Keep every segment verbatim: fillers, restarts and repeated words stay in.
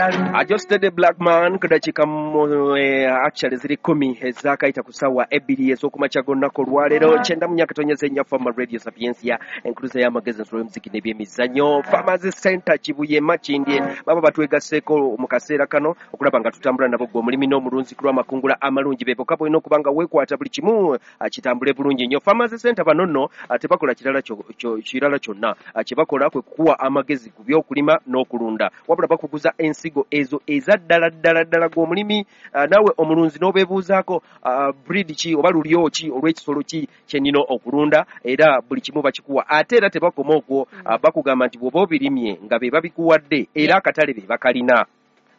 Adjusted Black Man ku dakiika mu eh, actually ziri kkumi ezaakayita ku ssaawa ebbiri ez'okumakya g'olunaku olwaleero, kyenda mu myaka tonyeza ennya, Fama Radio, Sapiensia, enkuluza y'amagezi, ensolo y'omuziki n'ebyemizannyo. Farmers Center Kibuye Makindye baba batwegasseeko mu kaseera kano okulaba nga tutambula nabo, gwe omulimi n'omulunzi, ku lw'amakungula amalungi. Be bokka bolina okuba nga weekwata buli kimu ah, kitambule bulungi nnyo. Farmers Center bano nno ah, tebakola kirala kyo- kyo- kirala kyonna. Ah, kye bakola kwe kukuwa amagezi ku by'okulima n'okulunda, wabula bakuguza ensigo ezo eza ddala ddala ddala. Gwe omulimi ah, naawe omulunzi n'obeebuuzaako ah, breed ki oba lulyo ki olw'ekisolo ki kye nnina okulunda, era buli kimu bakikuwa. Ate era tebakoma okwo, ah, bakugamba nti bw'oba obirimye nga be babikuwadde, era akatale be bakalina,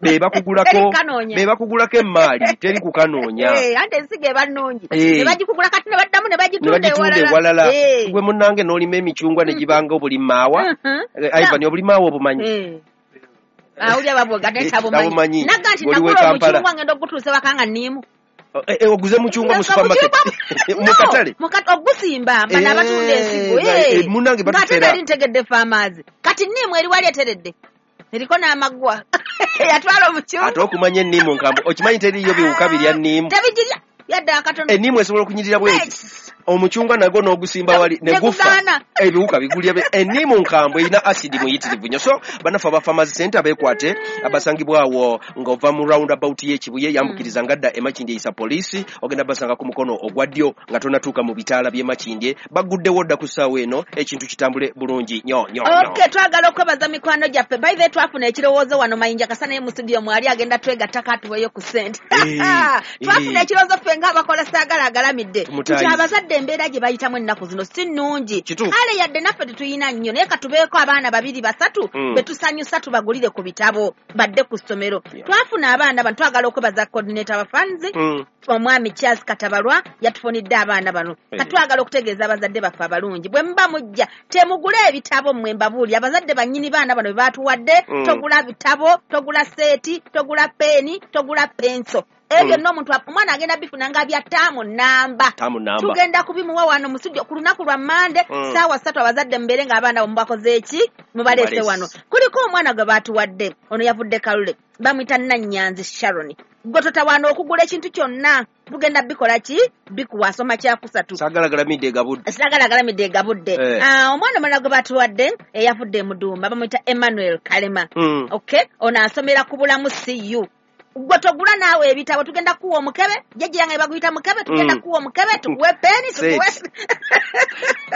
be bakugulako. Teri kukanoonya. Be bakugulako emmaali, teri kukanoonya. Eh, anti ensigo eba nnungi. Eh. Ne bagikugula kati ne baddamu ne ne bagitunda bagitunda ewalala. Eh. Gwe munnange n'olima emicungwa ne gibanga obulimaawa. Mhm. Eh, Ivan, obulimaawa obumanyi? Eh. Awulira babwoga naye Tabumanyi. tabumanyi. Nagga nti Oli w'e nagula Kampala. omucungwa, ngenda ogutuusa waka nga nniimu. Eh, eh, oguze mucungwa mu supermarket, mu katale? No, mu ogusimba bano Eh, abatunda ensigo. eh, Eh. munnange Ng'ate batutera. nali ntegedde farmers. Kati nniimu eri wali eteredde. Eriko n'amaggwa. Yatwala omucungwa. Ate okumanya enniimu nkambo, okimanyi teriiyo biwuka birya nniimu? Tebigirya yadde akatono. Enniimu esobola okunyirira bweti. Eh, Omucungwa nagwo n'ogusimba wali ne Ne gufa, gugaana. Ebiwuka bigulya be- enniimu nkambwe, erina asidi muyitirivu nnyo. So bannaffe aba Farmers Center beekwate, abasangibwawo ng'ova mu roundabout y'Ekibuye, yambukiriza ngadda Emakindye, eyisa poliisi, ogenda basanga ku mukono ogwa ddyo nga tonatuuka mu bitaala by'e Makindye. Bagguddewo dda ku ssaawa eno, ekintu kitambule bulungi nnyo nnyo nnyo. Okay, twagala okwebaza mikwano gyaffe. By the way, twafuna ekirowoozo wano. Mayinja Kasa naye mu studio mwali, agenda twegattako atuweeyo ku ssente. Eh, Twafuna eh. ekirowoozo ffe ng'abakola Saagala Agalamidde Tumutaayize. nti abazadde embeera gye bayitamu ennaku zino si nnungi. Kituufu. Kale yadde naffe tetuyina nnyo, naye katubeeko abaana babiri basatu Mm. be tusanyusa, tubagulire ku bitabo badde ku ssomero. Yeah. Twafuna abaana bano, twagala okwebaza coordinator wa funds, Mm. omwami Charles Katabalwa, yatufunidde abaana bano. Eh. Katwagala okutegeeza abazadde baffe abalungi, bwe muba mujja temugule ebitabo mmwe, mbabuulire, abazadde bannyini baana bano be baatuwadde. Mm. Togula bitabo, togula set, togula peeni, togula penso, ebyo Mm. byonna omuntu omwana agenda bifuna nga bya taamu namba. Taamu namba. Tugenda kubimuwa wano mu studio ku lunaku lwa Mande, Mm. saawa ssatu. Abazadde mubeere ng'abaana mubakoze eki? Mubaleese Mubaleese. wano. Kuliko omwana gwe baatuwadde, ono yavudde Kalule, bamuyita Nannyanzi Sharon. Gwe totawaana okugula ekintu kyonna, tugenda bikola ki? Bikuwa. Asoma kyakusatu. Saagala Galamidde egabudde. Saagala Agalamidde egabudde. Eh. Ah, omwana omulala gwe batuwadde eyavudde emudumba bamuyita Emmanuel Kalema. Mm. Okay, ono asomera ku Bulamu C U. Gwe togula naawe ebitabo, tugenda kuwa omukebe, jjajja yange baguyita mukebe, tugenda Mm. kuwa omukebe, tukuwe peeni, tukuwe Set.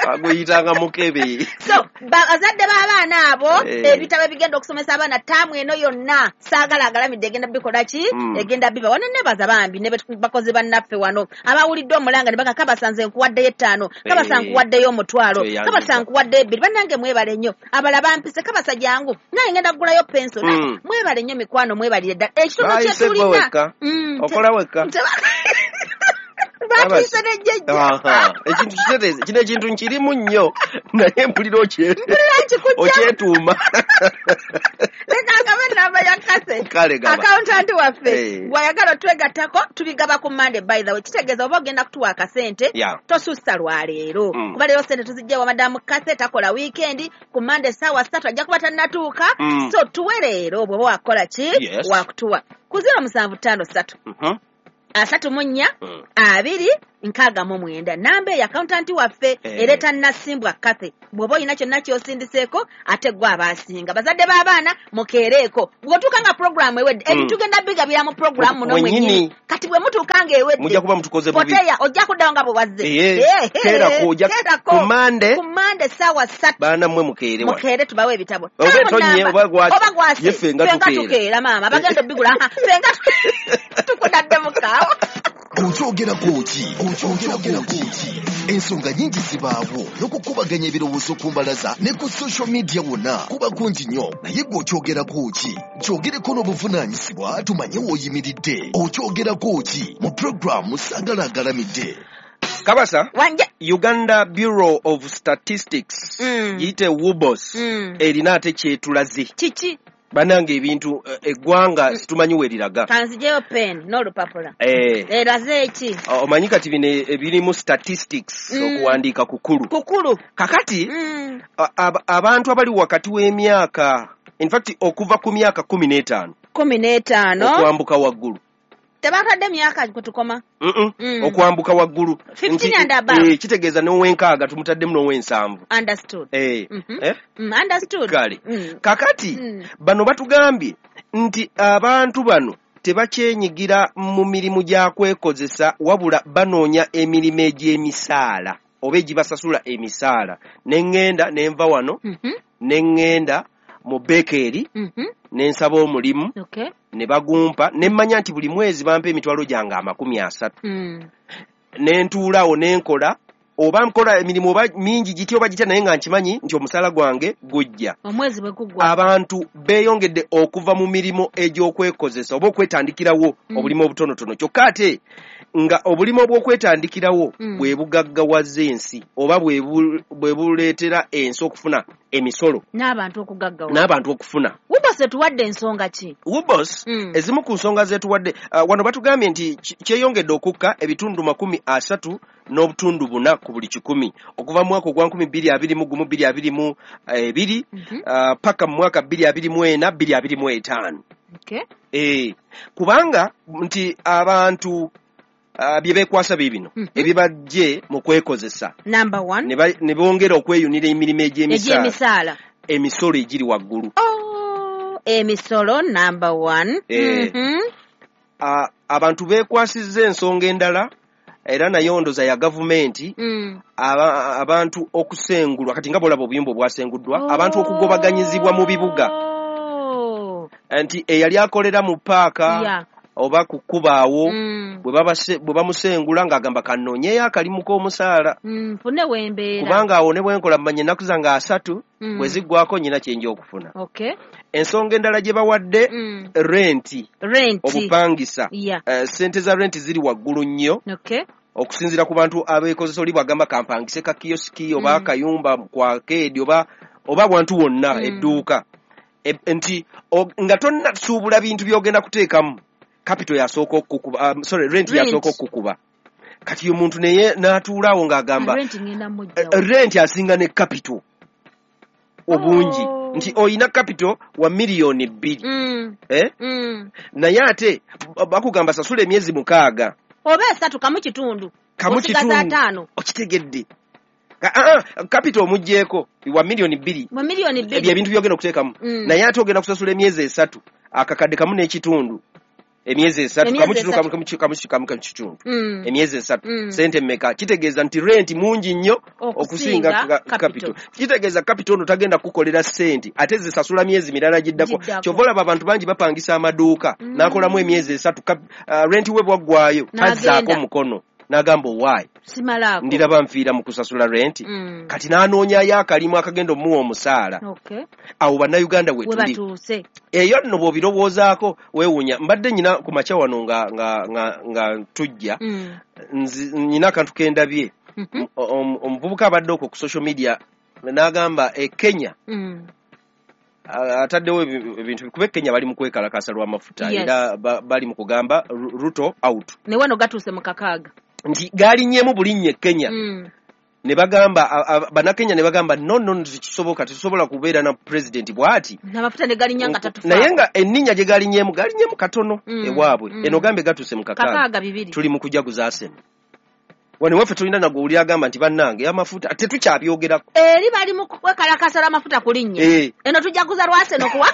Baguyitanga mukebe. So bazadde b'abaana abo, Eh. ebitabo ebigenda okusomesa abaana taamu eno yonna, Saagala Agalamidde egenda bikola ki? Mm. Egenda biba wano. Nebaza bambi ne betu- bakozi bannaffe wano abawulidde omulanga ne baga, "Kabasanze nkuwaddeyo ettaano, kabasa Eh. nkuwaddeyo omutwalo, Tweyanziza. kabasa nkuwaddeyo ebbiri." Bannange mwebale nnyo. Abala bampise, "Kabasa jangu naye ngenda kugulayo penso." Mm. Mwebale nnyo mikwano, mwebalire ddala ekitono kye Bayise gwe tulina. wekka. Mm, te- Okola wekka. Batuyise nejjejja. Aha, ekintu kitereeze kino, ekintu nkirimu nnyo, naye mpulira okye Mpulira nkikujja. Okyetuuma. Leka ngabe enamba ya Kase. Kale gaba. Accountant waffe. Eh. Bw'ayagala otwegattako, tubigaba ku Mande. By the way, kitegeeza oba ogenda kutuwa akasente, Yeah. tosussa lwaleero, Mm. kuba leero sente tuzijja wa madamu Kase, takola weekend. Ku Mande essaawa ssatu ajja kuba tannatuuka. Mm. So tuwe leero bw'oba wakukola ki? Yes. Wakutuwa ku zero musanvu ttaano ssatu Mhm. asatu mu nnya Mm. abiri nkaaga mu mwenda, namba eyo accountant waffe Eh. ereeta Nasimbwa Kathe. Bw'oba olina kyonna ky'osindiseeko, ate gwe abaasinga bazadde b'abaana mukeereeko. Bw'otuuka nga puroguramu ewedde, Mm. ebintu tugenda bigabira mu puroguramu muno Mwennyini. mwennyini. Kati bwe mutuuka nga ewedde, Mujja kuba mutukoze bubi. Poteya ojja kuddawo nga bwe wazze. Eh, Eh, keerako, ojja- keerako. Ku Mande. Ku Mande essaawa ssatu. Baana mmwe mukeere wano. Mukeere tubawe ebitabo. Oba Taamu etonye, namba. oba gwase. Oba gwase. Ye ffe nga Ffe nga tukeera. tukeera maama bagenda obbigula. Aha, ffe nga tukudadde mukaawa. Okyogerako ki? Okyogerako ki? Ensonga nnyingi zibaawo n'okukubaganya ebirowoozo ku mbalaza ne ku social media wonna kuba kungi nnyo, naye gwe okyogerako ki? Kyogereko n'obuvunaanyizibwa tumanye w'oyimiridde. Okyogerako ki mu puroguramu Saagala Agalamidde. Kabasa. Wanje. Uganda Bureau of Statistics, Mm. giyite UBOS, Mm. erina ate kyetulaze. Kiki? Bannange, ebintu eh, eggwanga situmanyi weriraga. Kanzijeyo pen n'olupapula. Eh, Eraze eki? Omanyi kati bino ebirimu statistics, Mm. okuwandiika kukulu. Kukulu. Kakati Mm. a- ab- abantu abali wakati w'emyaka, in fact okuva ku myaka kumi n'etaano Kumi n'etaano okwambuka waggulu. Tebakadde myaka kutukoma. Mm. Mm. Okwambuka waggulu fifteen and above. Eh, kitegeeza n'ow'enkaaga tumutaddemu n'ow'ensanvu. Understood. Eh, mm -hmm. eh? Mm, understood. Kale. Mm. Kakati mm. bano batugambye nti abantu bano tebakyenyigira mu mirimu gya kwekozesa, wabula banoonya emirimu egy'emisaala oba egibasasula emisaala. Ne ŋŋenda ne nva wano, mm -hmm. ne ŋŋenda mu bekeeri, mm -hmm. ne nsaba omulimu, okay. ne bagumpa, ne mmanya nti buli mwezi bampa emitwalo gyange amakumi asatu. Mm. Ne ntuulaawo ne nkola, oba nkola emirimu oba mingi gitya oba gitya, naye nga nkimanyi nti omusaala gwange gujja. Omwezi bwe guggwa. Abantu beeyongedde okuva mu mirimu egy'okwekozesa oba okwetandikirawo mm. obulimu obutonotono. Kyokka ate nga obulimu obw'okwetandikirawo mm. bwe bugaggawaza ensi oba bwe buleetera ensi okufuna emisolo n'abantu okugaggawa n'abantu okufuna. Wubos etuwadde ensonga ki? Wubos mm. ezimu ku nsonga zetuwadde uh, wano batugambye nti kyeyongedde okukka ebitundu makumi asatu n'obutundu buna ku buli kikumi okuva mu mwaka ogwa nkumi bbiri abiri mu gumu bbiri abiri mu ebiri mm -hmm. uh, paka mu mwaka bbiri abiri mu ena bbiri abiri mu etaano. Okay. Eh, kubanga nti abantu Uh, bye beekwasa biibino mm -hmm. ebibajje mu kwekozesa number one ne bongera okweyunira emirimu egy'emisaala, emisolo egiri waggulu. Oh, emisolo number one. Eh, mm -hmm. uh, abantu beekwasizza ensonga endala era nayo ndoza ya gavumenti mm. aba, abantu okusengulwa kati nga bw'olaba obuyumba obwasenguddwa oh. abantu okugobaganyizibwa mu bibuga nti eyali akolera mu paaka yeah. oba kukubaawo mm. bwe bamusengula ng'agamba kannoonyeyo akalimu k'omusaala mm, nfune wembeera kubanga awo ne bwenkola mmanya ennaku zange asatu mm. bwe ziggwako nnyina kye nja okufuna. Okay. Ensonga endala gye bawadde mm. renti, renti obupangisa yeah. uh, ssente za renti ziri waggulu nnyo okay. okusinziira ku bantu abeekozesa oli bw'agamba kampangise ka kiyosiki oba mm. akayumba ku arcade oba oba wantu wonna mm. edduuka e, nti nga tonnasuubula bintu by'ogenda kuteekamu capital yasooka okukuba, um, sorry rent yasooka okukuba. Kati omuntu naye n'atuulaawo ng'agamba rent ngenda mujja rent asinga ne capital obungi oh. nti oyina capital wa miliyoni bbiri mm. eh? mm. naye ate bakugamba sasula emyezi mukaaga oba esatu kamu kitundu kamu kitundu ataano okitegedde. Ah, capital omuggyeko wa miliyoni bbiri wa miliyoni bbiri ebyo ebintu by'ogenda okuteekamu mm. naye ate ogenda kusasula emyezi esatu akakadde kamu n'ekitundu emyezi esatu kamu kitundu kamu kamu kamu kamu kamu kitundu mm. emyezi esatu mm. sente mmeka kitegeeza nti rent mungi nnyo okusinga capital. Kitegeeza capital ono tagenda kukolera sente ate zisasula myezi mirala giddako. Kyova olaba abantu bangi bapangisa amaduuka mm. n'akolamu emyezi esatu uh, rent we bwaggwayo tazzaako omukono n'agamba owaayi simalaako ndiraba nfiira mu kusasula renti mm. kati n'anoonyayo akalimu akagenda omuwa omusaala. Okay. Awo bannayuganda we tuli eyo nno bw'obirowoozaako weewuunya. Mbadde nnyina ku makya wano nga, nga, nga, nga tujja mm. nnyina akantu ke ndabye mm -hmm. omuvubuka abadde okwo ku social media n'agamba e Kenya mm. ataddewo ebintu kuba e Kenya bali mu kwekalakaasa lw'amafuta yes. era ba, bali mu kugamba Ruto out ne wano gatuuse mu kakaaga nti galinnyemu bulinnya e Kenya mm. ne bagamba bannakenya ne bagamba no no tekisoboka tetusobola kubeera na pulezidenti bw'ati n'amafuta ne galinnya nga tatufa naye nga enninnya gye galinnyemu galinnyemu katono mm. ewaabwe mm. eno gambe gatuuse mu kakaaga bibiri tuli mu kujaguza Arsenal wano waffe tulina nagwe oli agamba nti bannange amafuta tetukyabyogeraku eri bali mu kwekalakaasa lw'amafuta kulinnya e. eno tujaguza lwa Arsenal kuwa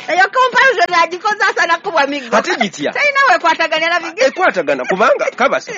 eyo comparison agikoze asana kubwa miggo ate gitya talina wekwatagana na bigere ekwatagana kubanga kabasa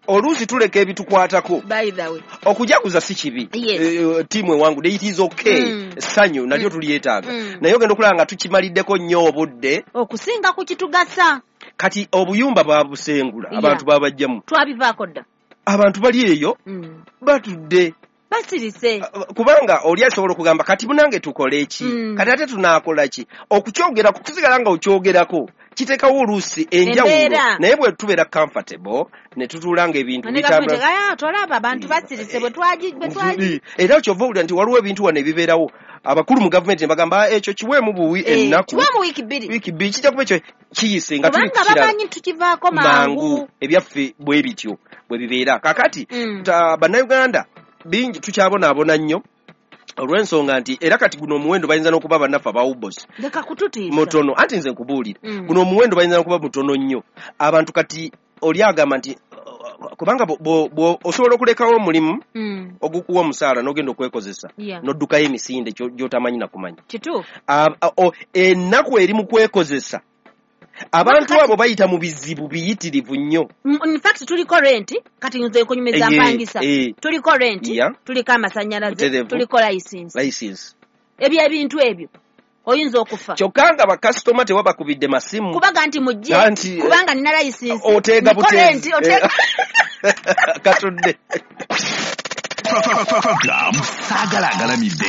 oluusi tuleka ebitukwatako by the way okujaguza si kibi yes. e, tiimu ewangu it is okay mm. essanyu nalyo mm. tulyetaaga mm. naye ogenda okulaba nga tukimaliddeko nnyo obudde okusinga ku kitugasa. Kati obuyumba babusengula yeah. abantu babajjamu twabivaako dda abantu bali eyo mm. batudde basirise kubanga oli asobola okugamba kati munange tukole ki mm. kati ate tunaakola ki okukyogerako kusigala nga okyogerako kiteekawo oluusi enjawulo naye bwe tubeera comfortable ne tutuula ng'ebintu bitambula tolaba abantu basirise bwe twagi bwe twagi era kyova owulira nti waliwo ebintu wano ebibeerawo abakulu mu gavumenti ne bagamba ekyo kiweemu buwi ennaku kiweemu wiiki bbiri wiiki bbiri kijja kuba ekyo kiyise nga tuli kubanga bamanyi tukivaako mangu ebyaffe bwe bityo bwe bibeera kakati mm. bannayuganda bingi tukyabonaabona nnyo Olw'ensonga nti era kati guno omuwendo bayinza n'okuba bannaffe aba U B O S Leka kututiisa. Mutono, anti nze nkubuulira, Mm. guno omuwendo bayinza n'okuba mutono nnyo. Abantu kati oli agamba nti uh, kubanga bo- bo- bo- osobola okulekawo omulimu Mm. ogukuwa omusaala n'ogenda okwekozesa Yeah. n'oddukayo emisinde kyo- gy'otamanyi nakumanya. Kituufu. A- a- o- ennaku eri mu kwekozesa, abantu abo bayita mu bizibu biyitirivu nnyo. Mm, in fact tuliko rent, kati nze nkunyumiza Eh, mpangisa, eh. tuliko rent, Yeah. tuliko amasannyalaze, Butereevu. tuliko license, License. Ebyo ebintu ebyo oyinza okufa. Kyokka nga bakasitoma tewabakubidde masimu. Kubaga nti mujje Anti, eh, kubanga nina license, oteega niko rent, buteezi. oteega. Katudde. Program Saagala Agalamidde.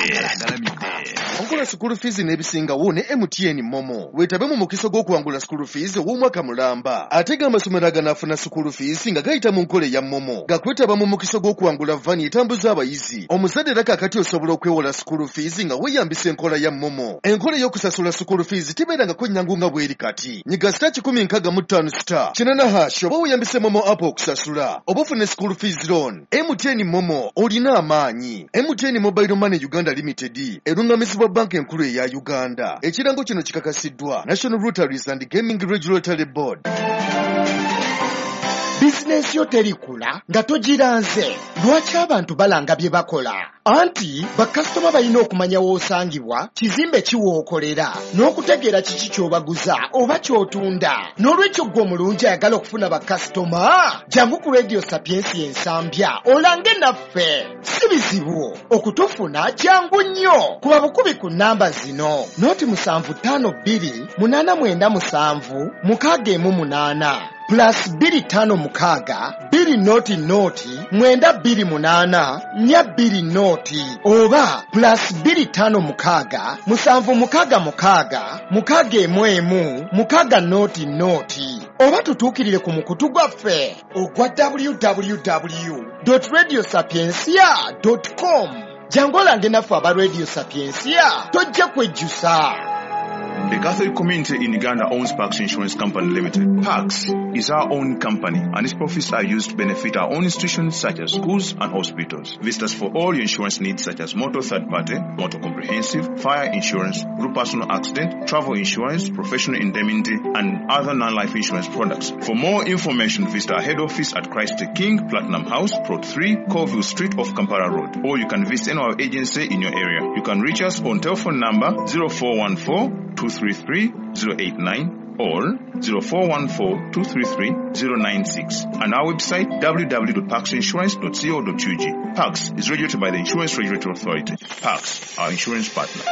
Okola school fees n'ebisingawo ne M T N MoMo. Weetabe mu mukisa gw'okuwangula school fees ow'omwaka mulamba. Ate g'amasomero aganaafuna school fees nga gayita mu nkola eya MoMo gakwetaba mu mukisa gw'okuwangula vani etambuza abayizi. Omuzadde era kaakati osobola okwewola school fees nga weeyambisa enkola ya MoMo. Enkola ey'okusasula school fees tebeerangako nnyangu nga bw'eri kati. Nyiga star kikumi nkaaga mu ttaano star kinana hash oba weeyambise MoMo app okusasula oba ofune school fees loan. M T N MoMo, olina amaanyi. M T N Mobile Money Uganda Limited erungamizibwa Banka Enkulu eya Uganda. Ekirango kino kikakasiddwa National Lotteries and Gaming Regulatory Board. Bizinensi yo terikula nga togiranze. Lwaki abantu balanga bye bakola? Anti bakasitoma balina okumanya w'osangibwa, kizimbe kiwookolera, n'okutegeera kiki ky'obaguza oba ky'otunda. N'olwekyo ggwe omulungi ayagala okufuna bakasitoma, jangu ku Radio Sapiensi Ensambya olange naffe. Si bizibu okutufuna, jangu nnyo. Kuba bukubi ku nnamba zino: noti musanvu ttaano bbiri munaana mwenda musanvu mukaaga emu munaana, plus bbiri ttaano mukaaga bbiri noti noti mwenda bbiri munaana nnya bbiri noti, oba plus bbiri ttaano mukaaga musanvu mukaaga mukaaga mukaaga emu emu mukaaga noti noti, oba tutuukirire ku mukutu gwaffe ogwa W W W radio sapiencia com. Jangu olange naffe aba Radio Sapiencia, tojja kwejjusa. The Catholic community in Uganda owns Pax Insurance Company Limited. Pax is our own company and its profits are used to benefit our own institutions such as schools and hospitals. Visit us for all your insurance needs such as motor third party, motor comprehensive, fire insurance, group personal accident, travel insurance, professional indemnity, and other non-life insurance products. For more information, visit our head office at Christ the King, Platinum House, Plot three, Colville Street off Kampala Road. Or you can visit any of our agency in your area. You can reach us on telephone number zero four one four two three three zero eight nine or zero four one four two three three zero nine six and our website w w w dot paxinsurance dot co dot u g. Pax is regulated by the Insurance Regulatory Authority. Pax, our insurance partner.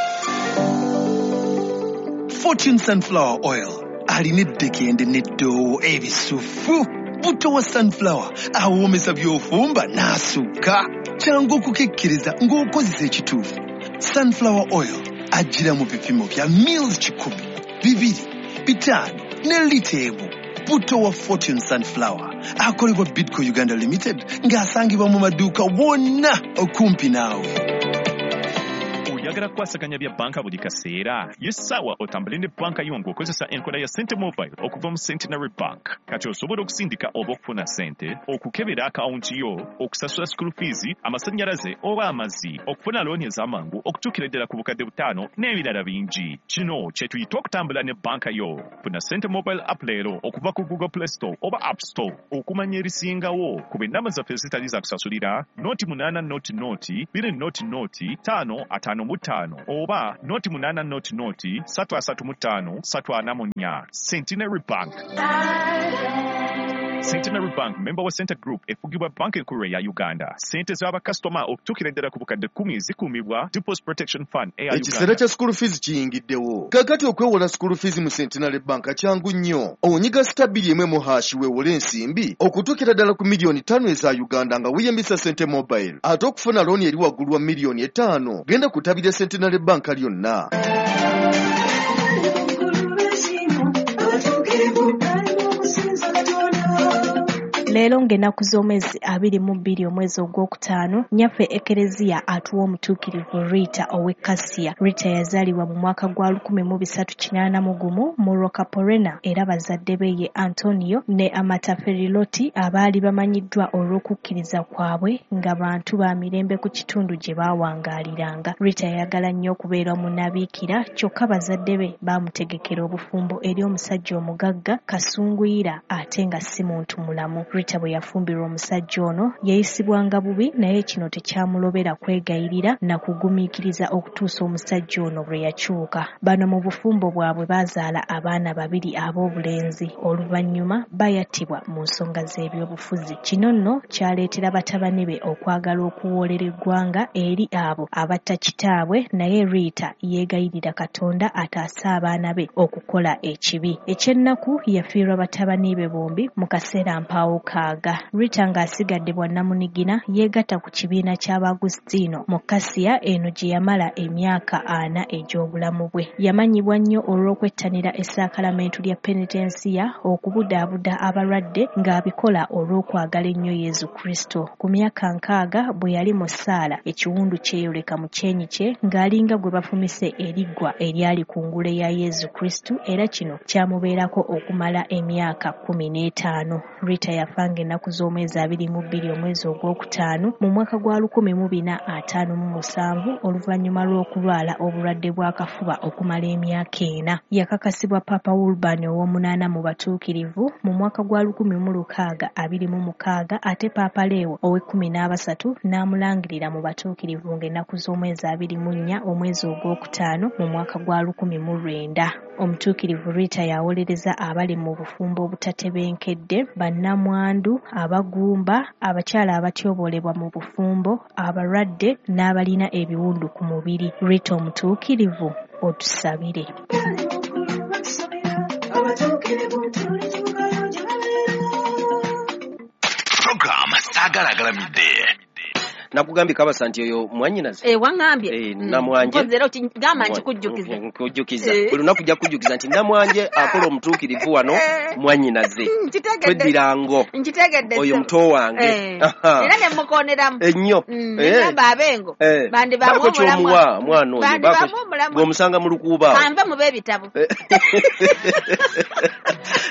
Fortune Sunflower Oil alina eddekende n'eddoowo ebisufu. Buto wa sunflower awoomesa by'ofumba n'asukka. Kyangu okukekkeriza ng'okozesa ekituufu. Sunflower oil ajjira mu bipimo bya mils kikumi, bibiri, bitaano ne lita emu. Buto wa Fortune Sunflower akolebwa Bidco Uganda Limited ng'asangibwa mu maduuka wonna okumpi naawe. Oyagala kukwasaganya bya banka buli kaseera? Ye ssaawa otambule ne banka yo ng'okozesa enkola ya Sente Mobile okuva mu Centenary Bank. Kati osobola okusindika oba okufuna sente, okukebera akawunti yo, okusasula school fees, amasannyalaze oba amazzi, okufuna looni ez'amangu okutuukira ddala ku bukadde butaano n'ebirala bingi. Kino kye tuyita okutambula ne banka yo. Funa Sente Mobile app leero okuva ku Google Play Store oba App Store. Okumanya ebisingawo, kuba ennamba zaffe ezitali za kusasulira: noti munaana noti noti bbiri noti noti ttaano ataano mu ttaano oba noti munaana noti noti ssatu asatu mu ttaano ssatu ana mu nnya. Centenary Bank. Centenary Bank, member wa Senta Group, efugibwa Banka Enkulu eya Uganda. Sente z'abakasitoma okutuukira ddala ku bukadde kkumi zikuumibwa Deposit Protection Fund eya Ekiseera Uganda. Kya school fees kiyingiddewo. Kaakati okwewola school fees mu Centenary Bank kyangu nnyo. Onyiga star bbiri emu emu hash weewole ensimbi okutuukira ddala ku miliyoni ttaano eza Uganda nga weeyambisa Sente Mobile. Ate okufuna looni eri waggulu wa miliyoni etaano, genda ku ttabi lya Centenary Bank lyonna. Leero ng'ennaku z'omwezi abiri mu bbiri omwezi ogwokutaano, nnyaffe Ekereziya atuwa omutuukirivu Rita ow'e Kasiya. Rita yazaalibwa mu mwaka gwa lukumi mu bisatu kinaana mu gumu mu Roccaporena, era bazadde be ye Antonio ne Amata Feriloti abaali bamanyiddwa olw'okukkiriza kwabwe nga bantu ba mirembe ku kitundu gye baawangaaliranga. Rita yayagala nnyo okubeera omunnabiikira, kyokka bazadde be baamutegekera obufumbo eri omusajja omugagga Kasunguyira ate nga si muntu mulamu. Rita bwe yafumbirwa omusajja ono yayisibwanga bubi, naye kino tekyamulobera kwegayirira na kugumiikiriza okutuusa omusajja ono lwe yakyuka. Bano mu bufumbo bwabwe baazaala abaana babiri ab'obulenzi. Oluvannyuma bayattibwa mu nsonga z'ebyobufuzi. Kino nno kyaleetera batabani be okwagala okuwoolera eggwanga eri abo abatta kitaabwe, naye Rita yeegayirira Katonda ataase abaana be okukola ekibi. Ekyennaku yafiirwa batabani be bombi mu kaseera mpaawo kaaga. Rita ng'asigadde bwannamunigina yeegatta ku kibiina ky'Abaagusitiino mu Kasiya eno gye yamala emyaka ana egy'obulamu bwe. Yamanyibwa nnyo olw'okwettanira essaakalamentu lya penitensiya, okubudaabuda abalwadde ng'abikola olw'okwagala ennyo Yesu Kristo. Ku myaka nkaaga bwe yali mu ssaala, ekiwundu kyeyoleka mu kyenyi kye ng'alinga gwe bafumise eriggwa eryali ku ngule ya Yesu Kristo, era kino kyamubeerako okumala emyaka kkumi n'etaano. Rita yafa ng'ennaku z'omwezi abiri mu bbiri omwezi ogwokutaano mu mwaka gwa lukumi mu bina ataano mu musanvu oluvannyuma lw'okulwala obulwadde bw'akafuba okumala emyaka ena. Yakakasibwa Papa Urban ow'omunaana mu batuukirivu mu mwaka gwa lukumi mu lukaaga abiri mu mukaaga, ate Papa Leo ow'ekkumi n'abasatu n'amulangirira mu batuukirivu ng'ennaku z'omwezi abiri mu nnya omwezi ogwokutaano mu mwaka gwa lukumi mu lwenda. Omutuukirivu Rita yawolereza abali mu bufumbo obutatebenkedde, bannamwandu, abagumba, abakyala abatyoboolebwa mu bufumbo, abalwadde n'abalina ebiwundu ku mubiri. Rita omutuukirivu, otusabire. Program Sagalagalamidde. Nakugambye Kabasa nti oyo mwannyinaze. Eh, wangambye. Eh, Namwanje. Mpozi era okigamba nkikujjukize. Nkujjukiza. Buli lunaku ojja kujjukiza nti Namwanje akola omutuukirivu wano mwannyinaze. Nkitegedde. Tweddirango. Nkitegedde. Oyo muto wange. Eh. Era ne mukooneramu. Ennyo. Mm, Eh. Ngamba abengo. Eh. Bandi Baako bamu ky'omuwa omulamwa. mwana oyo. Bandi Baako bamu omulamwa. Bw'omusanga mu lukuuba awo. Kanve mu b'ebitabo.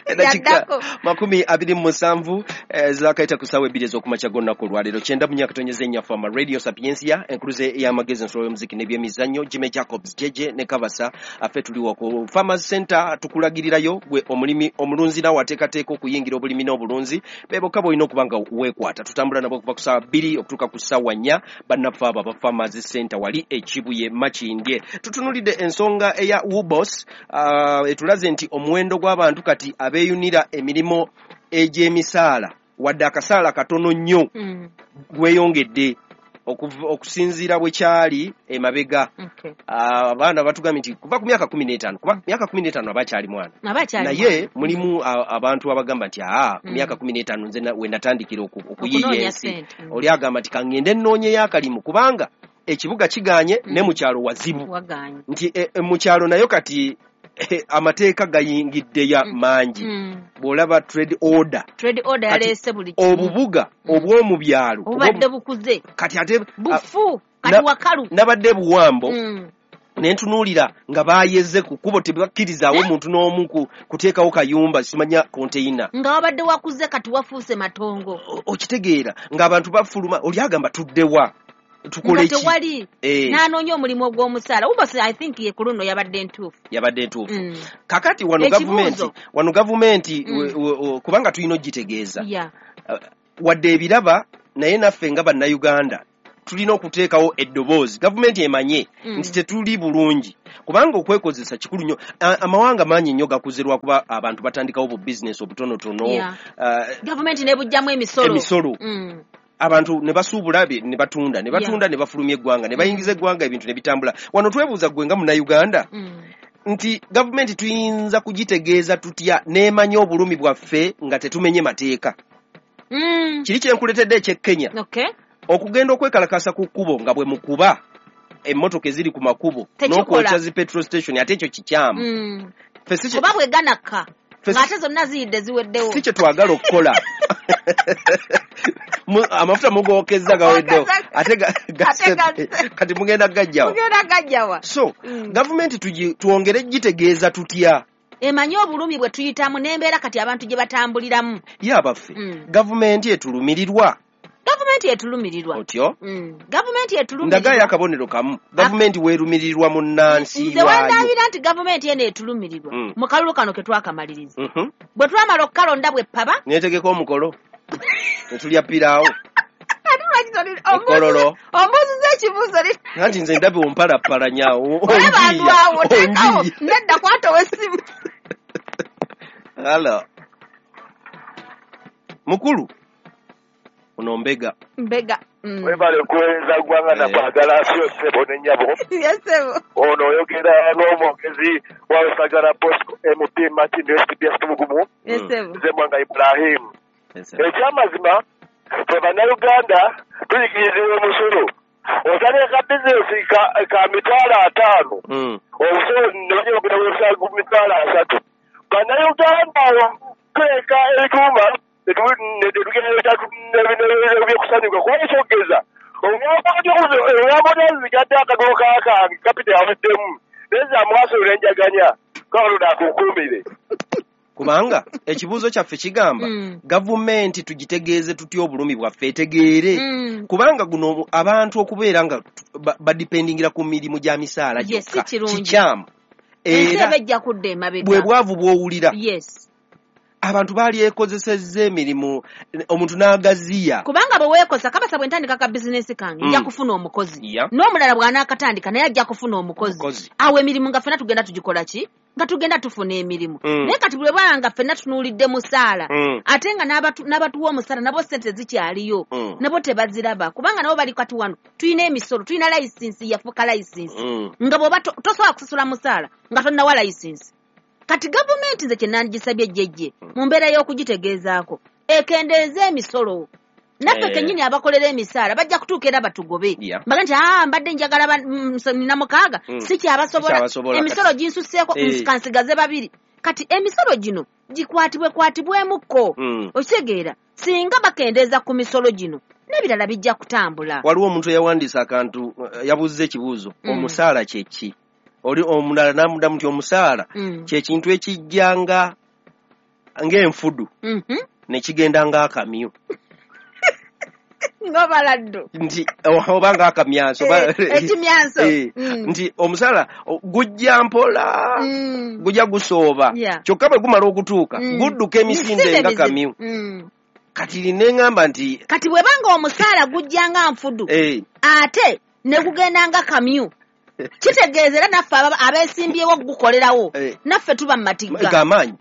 Eddakiika Yaddako. makumi abiri mu musanvu eh, zaakayita ku ssaawa ebbiri ez'okumakya g'olunaku olwaleero. Kyenda mu myaka tonyeze ennyaffe ama Radio Sapientia, enkuluze y'amagezi ensolo y'omuziki n'ebyemizannyo, Jimmy Jacobs Jeje ne Kabasa. Affe tuliwo ku Farmers Center tukulagirirayo gwe omulimi omulunzi nawe ateekateeka okuyingira obulimi n'obulunzi be bokka bw'olina okuba nga weekwata. Tutambula nabo okuva ku ssaawa bbiri okutuuka ku ssaawa nnya. Bannaffe abo aba Farmers Center wali e Kibuye Makindye. Tutunuulidde ensonga eya Wubos, uh, etulaze nti omuwendo gw'abantu kati abeeyunira emirimu egy'emisaala wadde akasaala katono nnyo Mm. gweyongedde okuv- okusinziira bwe kyali emabega. Okay. Ah, abaana batugambye nti kuva ku myaka kumi n'etaano, kuba myaka kumi n'etaano aba akyali mwana, Abakyali naye mulimu a- abantu abagamba nti aa ku Mm. myaka kumi n'etaano nze na- we natandikira oku- okuyiiya Okunoonya ensi. ssente. Mm. Oli agamba nti kaŋŋende nnoonyeyo akalimu kubanga ekibuga kigaanye Mm. ne mu kyalo wazibu. Wagaanye. Nti e, e, mu kyalo nayo kati eh, amateeka gayingiddeya Mm. mangi. Mm. Bw'olaba trade order, Trade order Kati yaleese buli kimu. obubuga Mm. obw'omu byalo Obubadde bukuze. kati ate a- Bufu. Kati na- wakalu. nabadde buwambo Mm. ne ntunuulira nga baayeze ku kkubo, tebakkirizaawo Eh? muntu n'omu ku- kuteekawo kayumba simanya konteyina. Nga wabadde wakuze kati wafuuse matongo. O- okitegeera ng'abantu bafuluma, oli agamba tuddewa tukole Nga ki? tewali. Eh, N'anoonya omulimu ogw'omusaala. Wubos I think ye ku luno yabadde ntuufu. Yabadde ntuufu. Mm. Kakati wano gavumenti Ekibuuzo. wano gavumenti Mm. we- we- we- kubanga tulina ogitegeeza Yeah. wadde ebiraba, naye naffe nga bannayuganda tulina okuteekawo eddoboozi gavumenti emanye Mm. nti tetuli bulungi, kubanga okwekozesa kikulu nnyo. A- amawanga mangi nnyo gakuze lwakuba abantu batandikawo bu bizinesi obutonotono. Yeah. Ah, Gavumenti n'ebugyamu emisolo. Emisolo. Mm. Abantu ne basuubula bye- ne batunda ne batunda ne bafulumya eggwanga ne bayingiza eggwanga ebintu ne bitambula. Wano twebuuza ggwe nga munnayuganda Mm. nti gavumenti tuyinza kugitegeeza tutya n'emanya obulumi bwaffe nga tetumenye mateeka? Mm. Kiri kye nkuleetedde eky'e Kenya, Okay. okugenda okwekalakasa ku kkubo nga bwe mukuba emmotoka eziri ku makubo Tekikola. n'okwokya zi petrol station, ate ekyo kikyamu. Mm. Ffe si kye- Kuba bwe ganakka ffe si- ng'ate zonna ziyidde ziweddewo. si kye twagala okukola. Amafuta mugokezza gaweddewo ate kati mugenda gajjawa. Mugenda gajjawa. So gavumenti tuwongere gitegeeza tutya? Emanyi obulumi bwe tuyitamu n'embeera kati abantu gye batambuliramu. Ye abaffe, gavumenti etulumirirwa. Gavumenti etulumirirwa. Otyo? Gavumenti etulumirirwa. Ndagayo akabonero kamu. Gavumenti weerumirirwa munnansi waayo. Nze wendabira nti gavumenti eno etulumirirwa. Mu kalulu kano ke twakamaliriza. Bwe twamala okukalonda bwe ppaba. Neetegeka omukolo. Ne tulya piraawo. Ekololo. Ombuuziza ekibuuzo. Anti nze ndabye ompalapalanya. Olaba andwawo teekawo nedda kwata ow'essimu. Hello. Mukulu. Ono mbega. Mbega. Webale kuweereza ggwanga na kwagala sio ssebo ne nnyabo. Yes ssebo. Ono oyogera n'omwogezi wa Lusagala Bosco M P Martin S P S Tumugumu. Yes ssebo. Nze Mwanga Ibrahim. Ekyamazima ffe Bannayuganda tuyigirizibwa omusolo. Otandika bizinesi ka mitwalo ataano. Omusolo ne bagenda ku mitwalo asatu. Bannayuganda tweka ebituuma ebyokusanyuka kuba ekyogeza omwakozigadde akaduuka kange kapita yavuddemu naye zamwasolera enjaganya kakalonda akukuumire. Kubanga ekibuuzo kyaffe kigamba gavumenti tugitegeeze tutya obulumi bwaffe etegeere. Kubanga guno abantu okubeera nga badipendingira ku mirimu gya misaala gyokka kikyamu. Era bwe bwavu bw'owulira. Abantu baali ekozesezza emirimu omuntu n'agaziya. Kubanga bwe weekoza kabasa bwe ntandika ka bizinesi kange nja kufuna omukozi. N'omulala bw'anaakatandika naye ajja kufuna omukozi. Awo emirimu nga ffenna tugenda tugikola ki? Nga tugenda tufuna emirimu. Naye kati bwe baba nga ffenna tunuulidde musaala ate nga n'abatuwa omusaala nabo ssente zikyaliyo nabo tebaziraba kubanga nabo bali kati wano tulina emisolo tulina layisinsi yafuuka layisinsi nga bw'oba tosobola kusasula musaala nga tonnawa layisinsi. Kati gavumenti nze kye nandigisabye jjejje mu mbeera y'okugitegeezaako ekendeeze emisolo. Naffe kennyini abakolera emisaala bajja kutuuka era batugobe. Mbaga nti aa mbadde njagala nina mukaaga sikyabasobola emisolo ginsusseeko kansigaze babiri. Kati emisolo gino gikwatibwe kwatibwemukko. Okitegeera singa bakendeeza ku misolo gino n'ebirala bijja kutambula. Waliwo omuntu eyawandiisa akantu yabuuzza ekibuuzo omusaala kye ki? Oli omulala n'amuddamu nti omusaala kye kintu ekijja nga ng'enfudu ne kigenda ng'akamyu. Ng'obaladdu. Nti oba ng'akamyanso. Ekimyanso. Nti omusaala gujja mpola, gujja gusooba. Kyokka bwe gumala okutuuka gudduka emisinde nga kamyu. Kati ne ŋŋamba nti. Kati bwe banga omusaala gujja nga nfudu ate ne gugenda nga kamyu. Kitegeeza era naffe abeesimbyewo okugukolerawo naffe tuba mu matigga. Gamaanyi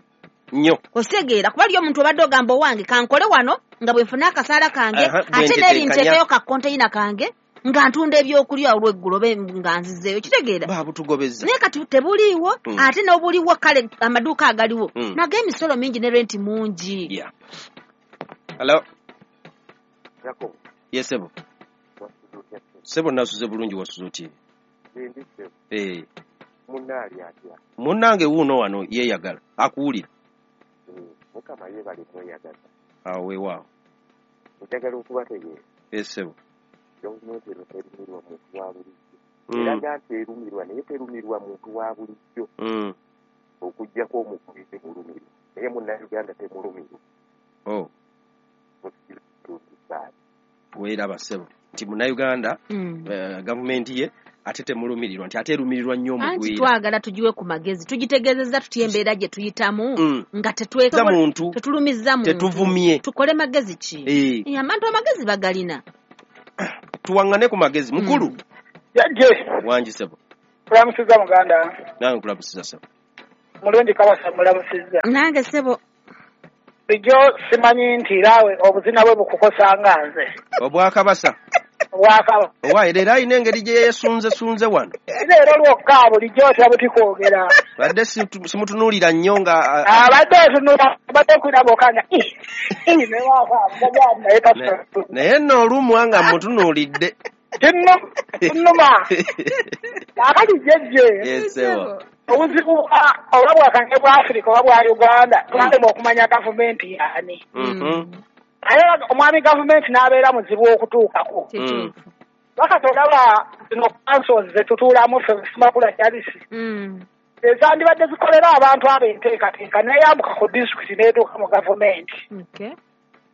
nnyo. Okitegeera kuba liyo omuntu obadde ogamba owange kankole wano nga bwe nfuna akasaala kange ate n'eri nteekeyo ka konteyina kange nga ntunda ebyokulya olw'eggulo oba nga nzizeeyo. Kitegeera. Baabutugobezza. Naye kati tebuliiwo ate n'obuliwo kale amaduuka agaliwo nago emisolo mingi ne renti mungi. Hello. Yes, sebo. Sebo nasuze bulungi wasuze otya? Eh. Munnaali atya? Munnange wuuno wano yeeyagala akuwulira. Mukama yeebale kweyagaza. Awo weewaawo. Njagala okubategeeza. Yes, sebo. Gavumenti eno terumirwa muntu wa bulijjo. Eraga nti erumirwa naye terumirwa muntu wa bulijjo. Okuggyako omukubi temulumirwa. Naye Munnayuganda temulumirwa. Oh. Weeraba ssebo nti Munnayuganda gavumenti ye ate temulumirirwa nti ate erumirirwa nnyo omugwira. Anti twagala tugiwe ku magezi tugitegeezezza tutya embeera gye tuyitamu nga tetulumizza muntu tetuvumye tukole magezi ki? Abantu amagezi bagalina. Tuwaŋŋane ku magezi mukulu. Jajje. Wangi ssebo. Kulamusizza muganda. Nange nkulamusizza ssebo. Mulungi kabasa mulamusizza. Nange ssebo. Bulijjo simanyi nti naawe obuzina bwe bukukosa nga nze. Obwakabasa. Obwakaba. Owa leero alina engeri gye yeesunzesunze wano. Leero lwokka bulijjo otya buti kwogera. Badde simutunuulira nnyo nga. Abadde otunula abadde okulaba okanga. Naye nno olumu nga mutunuulidde. Kinnuma. Kaakati jjejje. Yes, ssebo. Obuzibu oba bwakange bwa Afirika oba bwa Uganda twalema okumanya gavumenti yaani. Naye omwami gavumenti n'abeera muzibu okutuukako. Kituufu. Wakati olaba zino councils zetutuulamu ffe Semakula Charles. Mm. Ezandibadde zikolera abantu abo enteekateeka n'eyambuka ku disitulikiti n'etuuka mu gavumenti. Okay.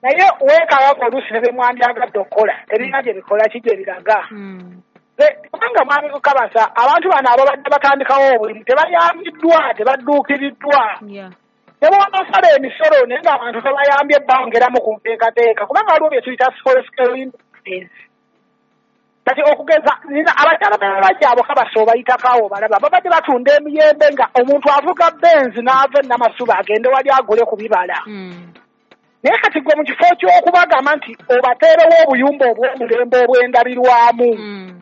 Naye weekaaga oluusi ne bye mwandyagadde okukola tebirina gye bikola ki gye biraga. Mm. Kubanga mwami Kabasa abantu bano ababadde batandikawo obulimu tebayambiddwa, tebadduukiriddwa. Yeah. Ne bw'onosala emisolo naye ng'abantu tebayambye bongeramu ku nteekateeka kubanga waliwo bye tuyita small scale industries. Kati okugeza nina abakyala b'abajja abo Kabasa obayitako awo balaba babadde batunda emiyembe nga omuntu avuga Benz n'ava e Namasuba agende wali agule ku bibala. Mm. Naye kati gwe mu kifo ky'okubagamba nti obateerewo obuyumba obw'omulembe obw'endabirwamu. Mm.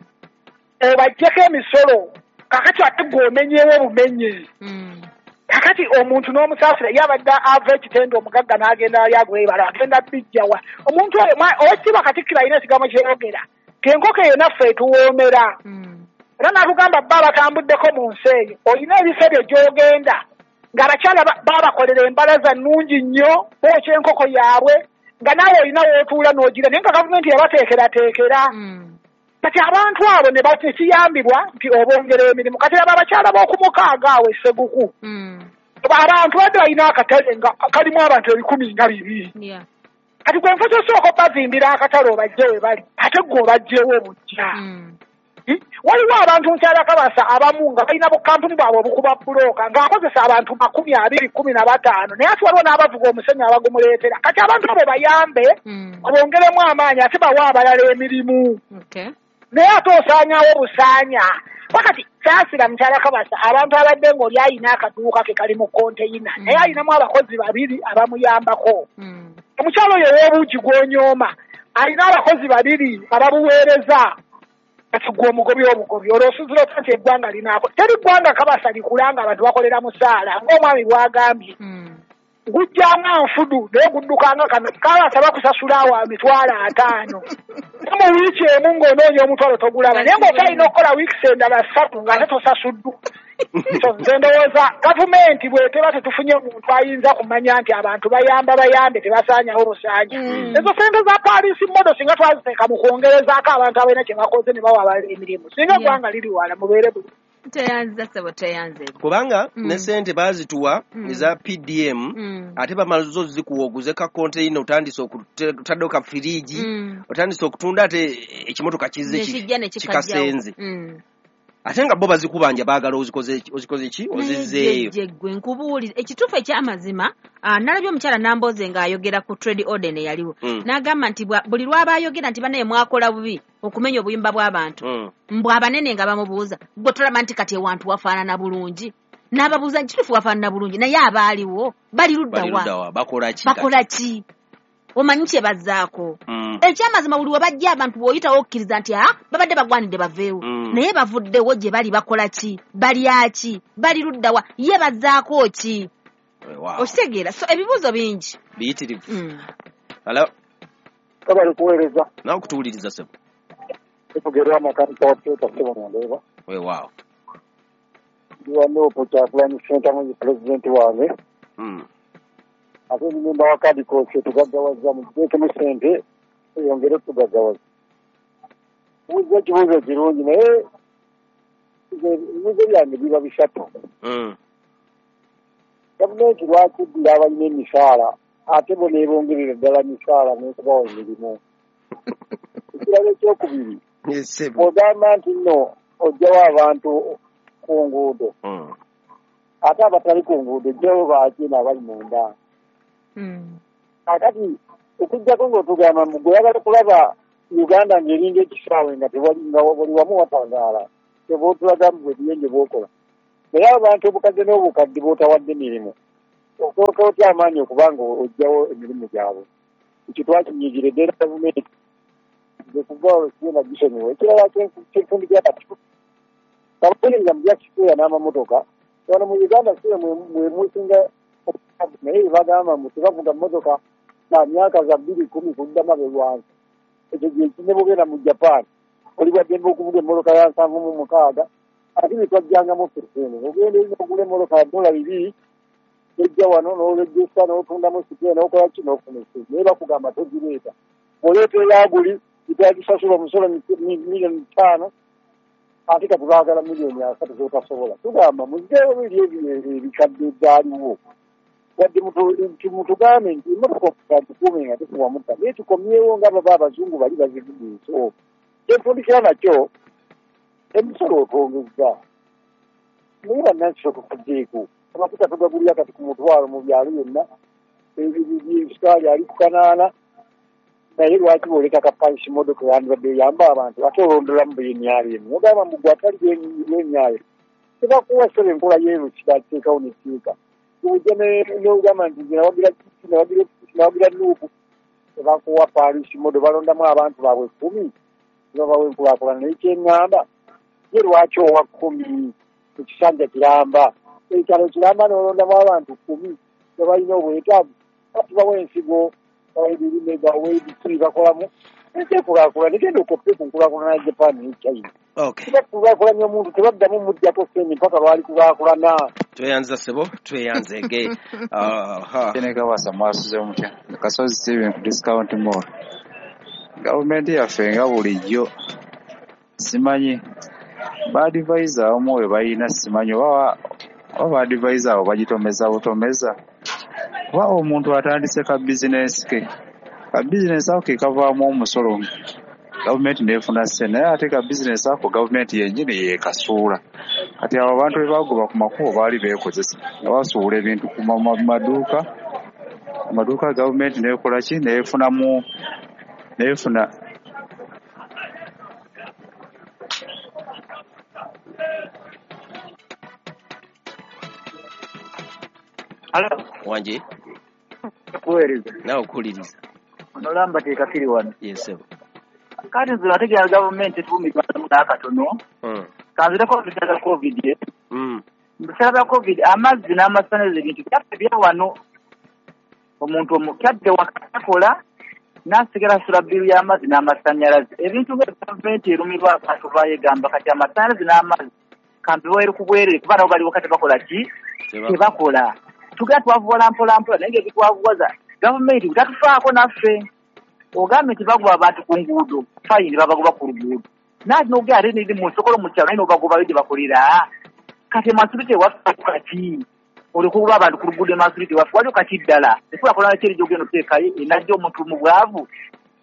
Obaggyeko emisolo kakati ate gwe omenyewo obumenye. Mm. Kakati omuntu n'omusaasira ye abadde ava ekitende omugagga n'agenda ali agula ebibala agenda bijjawa. Omuntu oyo owekitiibwa Katikkiro alina ekigambo kyeyogera ng'enkoko eyo naffe etuwoomera. Mm. Era n'atugamba bba abatambuddeko mu nsi eyo olina ebifo ebyo gy'ogenda ng'abakyala baabakolera embalaza nnungi nnyo bookya enkoko yaabwe nga naawe olina w'otuula n'ogira naye nga gavumenti yabateekerateekera. Mm. Kati abantu abo ne bakiyambibwa nti obongera emirimu. Kati abo abakyala b'okumukaaga awo e Sseguku. Mm. Abantu badde balina akatale nga kalimu abantu ebikumi nga bibiri. Yeah. Kati gwe nfa ky'osooka obazimbira akatale obajje we bali ate gwe obajjewo bujja. Mm. Waliwo abantu nkyala Kabasa abamu nga balina bukampuni bwabwe obukuba bbulooka ng'akozesa abantu makumi abiri kumi na bataano naye ate waliwo n'abavuga omusenyu abagumuleetera. Kati abantu abo bayambe Mm. obongeremu amaanyi ate bawe abalala emirimu. Okay. Naye ate osaanyawo busaanya. Wakati saasira mukyala Kabasa abantu abadde ng'oli ayina akaduuka ke kali mu konteyina Mm. naye ayinamu abakozi babiri abamuyambako. Mm. Omukyala oyo ow'obuugi gw'onyooma alina abakozi babiri ababuweereza. Kati gwe omugobi obugobi olwo osuuzira otya nti eggwanga linaako. Teri ggwanga Kabasa likula nga abantu bakolera musaala ng'omwami bw'agambye. Mm. Gujjanga nfudu naye guddukanga kano Kabasa bakusasula awo emitwalo ataano. Mu wiiki emu ng'onoonya omutwalo togulaba naye ng'okyalina okukola wiikisi endala ssatu ng'ate tosasuddwa. So nze ndowooza gavumenti bw'eteba tetufunye muntu ayinza kumanya nti abantu bayamba bayambe tebasaanyawo busaanya. Mm. Ezo ssente za Paris model singa twaziteeka mu kwongerezaako abantu abalina kye bakoze ne bawa abalala emirimu singa Yeah. eggwanga liri wala mubeere bulungi. Teyanza ssebo teyanze. Kubanga Mm. ne sente baazituwa Mm. eza P D M Mm. ate bamala zo zikuwa oguze ka konteyina otandise okutaddewo ka firiigi Mm. otandise okutunda ate ekimotoka kizze ki- Nekijja ne kikajjawo. kikasenze. Mm. Ate nga bo bazikubanja baagala ozikoze ozikoze ki ozizzeeyo. Naye gwe nkubuulira ekituufu eky'amazima ah, nalabye omukyala Nambooze ng'ayogera ku trade order eyaliwo. Mm. N'agamba nti buli lw'aba ayogera nti bannaye mwakola bubi okumenya obuyumba bw'abantu. Mm. Mbw abanene nga bamubuuza gwe tolaba nti kati ewantu wafaanana bulungi. N'ababuuza nti kituufu wafaanana bulungi naye abaaliwo bali ludda Bali wa? ludda wa? Bakola ki? Bakola ki? Omanyi kye bazzaako. Mm. Ekyamazima buli we bajja abantu bw'oyitawo okkiriza nti ah babadde bagwanidde baveewo. Mm. Naye bavuddewo gye bali bakola ki? Balya ki? Bali ludda wa? Ye bazzaako ki? Wow. Okitegeera? So ebibuuzo bingi. Biyitirivu. Mm. Hello. Kabali kuweereza. Nawe kutuwuliriza ssebo. Tugerwa amakanika wa Toyota ssebo Nandeba. Weewaawo. Ndi wa Nuupu Kyagulanyi Ssentamu ye pulezidenti wange. Mm. Ate ndi memba wa Kadikosi tugaggawaza muteekemu ssente eyongere okutugaggawaza. Buuza ekibuuzo kirungi naye ebibuuzo byange biba bisatu. Mm. Gavumenti lwaki eddira abalina emisaala ate bo neebongerera ddala misaala n'okubawa emirimu? Ekirala ekyokubiri, bw'ogamba nti nno oggyawo abantu ku nguudo Mm. ate abatali ku nguudo oggyawo baaki n'abali munda. Mm. Kaakati okuggyako ng'otugamba mbu gwe oyagala kulaba Uganda ng'eringa ekisaawe nga tewali nga buli wamu watangaala kyova otulaga mbu ebiyenje bw'okola. Naye abantu obukadde n'obukadde b'otawadde mirimu osooka otya amaanyi okuba nga oggyawo emirimu gyabwe? Ekyo twakinyigiridde era gavumenti kuva olwo sigenda gisonyiwa. Ekirala kyenfundikira kati abaweereza mu bya kisipeeya n'amamotoka wano mu Uganda siwe mwe musinga naye bagamba mbu tebavuga mmotoka na myaka za bbiri kumi kudda mabega wansi. Ekyo gye ne bw'ogenda mu Japan oli bwa ddembe okuvuga emmotoka ya nsanvu mu mukaaga ate bye twajjangamu ffe eno ogenda eri n'ogula emmotoka ya dola bibiri Ojja wano n'olejjesa n'otundamu sipye n'okola ki n'ofuna essente, naye bakugamba togireeta. Bw'oleeta eyaguli itagisasula omusolo miliyoni ttaano, ate kati baagala miliyoni asatu z'otasobola. Tugamba muggyeewo biri ebikadde ebyaliwo. Wadde mutugambe nti emmotoka gikuume nga tekuwa mutta, naye tukomyewo nga baba abazungu bali bazivuga ensi. Kyentundikira nakyo emisolo otwongezza, naye bannansi tukuggyeko. Amafuta tugagulira kati ku mutwalo mu byalo byonna, ebisukaali ali ku kanaana, naye lwaki bw'oleka ka pansi modoka yandibadde eyamba abantu ate olondolamu b'emyalo emu ogamba mbu gwe atali b'emyalo tebakuwa ssebe enkola yeero kitateekawo netteeka. Ojja n'ogamba nti nze nawagira Kiki, nawagira nawagira Nuupu, tebakuwa pansi modo, balondamu abantu baabwe kkumi nebabawa enkulaakulana. Naye kyeŋŋamba ye lwaki owa kkumi ekisanja kiramba, ekyalo kiramba n'olondamu abantu kkumi tebalina obwetaavu, tubawa ensigo, bawa ebirime, bawa ebiki bakolamu ensi ekulaakulana. Egenda okoppe ku nkulaakulana ya Japan ne China. Tebakulaakulanya omuntu tebaddamu muggyako ssente mpaka lwali kulaakulana. Tweyanza ssebo, tweyanzege. Kawasa mwasuze mutya? Kasozi Steven ku Discount Mall. Gavumenti yaffe nga bulijjo simanyi baadivaiza abamu oyo balina simanyi oba oba baadivaiza abo bagitomeza butomeza, kuba omuntu atandise ka bizinesi ke, ka bizinesi ako ke kavaamu omusolo gavumenti n'efuna ssente, naye ate ka bizinesi ako gavumenti yennyini yeekasuula. Kati abo abantu be bagoba ku makubo baali beekozesa nga basuula ebintu ku maduuka, amaduuka gavumenti n'ekola ki n'efunamu n'efuna Alo. Wanje. Kuweereza. Nawe okuwuliriza. Onolamba teekakiri wano. Yes, sir. Kati nze nategeera gavumenti etuumirwamu n'akatono. Mm. Kanzireko mu biseera bya COVID. Mm. Mu biseera bya COVID amazzi n'amasannyalaze ebintu byaffe bya wano. Omuntu omukadde wakakola n'asigala asula bbiru y'amazzi n'amasannyalaze. Ebintu nga gavumenti erumirwa abantu baayo egamba kati amasannyalaze n'amazzi kambiweere ku bwereere kuba nabo bali waka tebakola ki? Tebakola. Tugenda twavuwala mpola mpola naye ng'ebitwavuwaza gavumenti tatufaako naffe. Ogambye nti bagoba abantu ku nguudo, fayini babagoba ku luguudo. Naye n'ogenda ate neri mu nsokolo mu kyalo naye n'obagobayo gye bakolera. Kati emasulite ewaffe kati olikugoba abantu ku luguudo emasulite ewaffe waliwo kati ddala. Enkulaakulana ki eri gy'ogenda oteekayo enajja omuntu mu bwavu?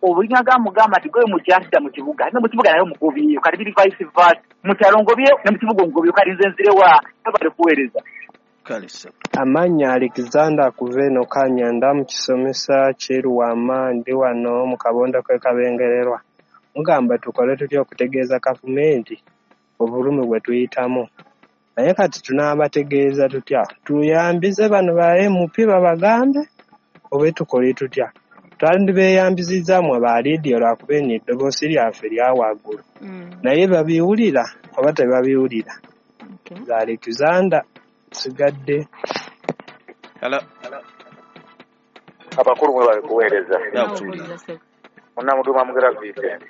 Obulinga gamugamba nti gwe mukyatidda mu kibuga, ne mu kibuga naye omugobyeyo. Kati biri vice versa. Mu kyalo ngobyeyo ne mu kibuga ngobyeyo, kati nze nzirewa? Bali kuweereza. Amannya Alexander Kuveno Kanyanda mu kisomesa Kyeruwama, ndi wano mu kabondo k'e Kabengererwa. Mugamba tukole tutya okutegeeza gavumenti obulumi bwe tuyitamu? Naye kati tunaabategeeza tutya? Tuyambize bano ba M P babagambe oba tukole tutya? Twandibeeyambizizza mmwe ba leediyo lwakuba eno eddoboozi lyaffe lya waggulu. Naye babiwulira oba tebabiwulira? Nze Alexander sigadde. Hello. Abakulu mwe bali kuweereza. Munnamuduma Mugera Vincent.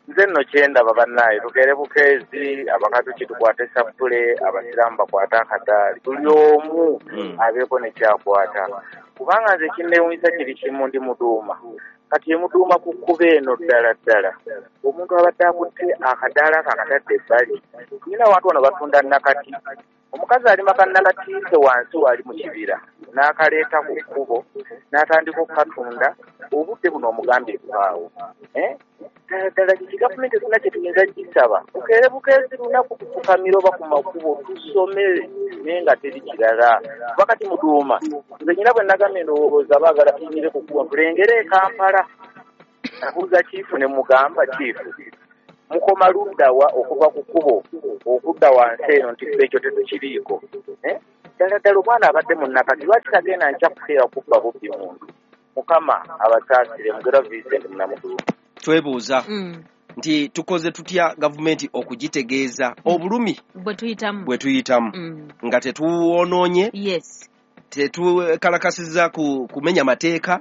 Nze nno kyendaba bannaaye tukeere bukeezi, abakatuki tukwate sappule, abasiraamu bakwate akadaali, buli omu abeeko ne kyakwata. Kubanga nze kinneewuunyisa kiri kimu, ndi Muduuma. Kati emuduuma ku kkubo eno ddala ddala omuntu abadde akutte akadaala ako akatadde ebbali. Nina abantu wano batunda nakati. Omukazi alima kannakati ke wansi wali mu kibira n'akaleeta ku kkubo n'atandika okukatunda. Obudde buno omugambye vaawo. Ddala ddala kiki gavumenti tulina kye tuyinza gisaba? Bukeere bukeezi lunaku kufukamira oba ku makubo tusome naye nga teri kirala. Kuba kati Muduuma nze nyina bwe nagambye ndowooza baagala tuyimire ku kkubo tulengere e Kampala. Nabuuza kiifu ne mugamba kiifu mukoma ludda wa okuva ku kkubo okudda wansi eno nti ffe ekyo tetukiriiko. Ddala ddala omwana abadde munnakati lwaki tagenda nkya kukeera kubba bubbi muntu? Mukama abasaasire. Mugera Vincent Munamuduuma. Twebuuza nti tukoze tutya gavumenti okugitegeeza obulumi bwe tuyitamu bwe tuyitamu nga tetuwonoonye, yes, tetukalakasizza ku kumenya mateeka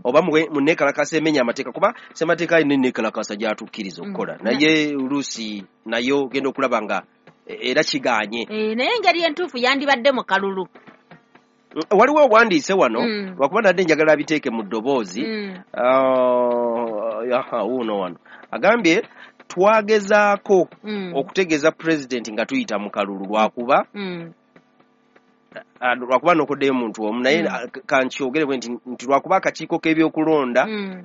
oba munneekalakasa emenya amateeka, kuba ssemateeka alina enneekalakasa gy'atukkiriza okukola, naye oluusi nayo ogenda okulaba nga era kigaanye. Naye engeri entuufu yandibadde mu kalulu. Waliwo owandiise wano Mm. lwakuba nadde njagala abiteeke mu ddoboozi. Mm. Ah, aha, wuuno wano agambye twagezaako Mm. okutegeeza pulezidenti nga tuyita mu kalulu lwakuba Mm. ah, lwakuba nokoddeyo omuntu omu naye Mm. ah, kankyogere bwe nti nti lwakuba akakiiko k'ebyokulonda Mm.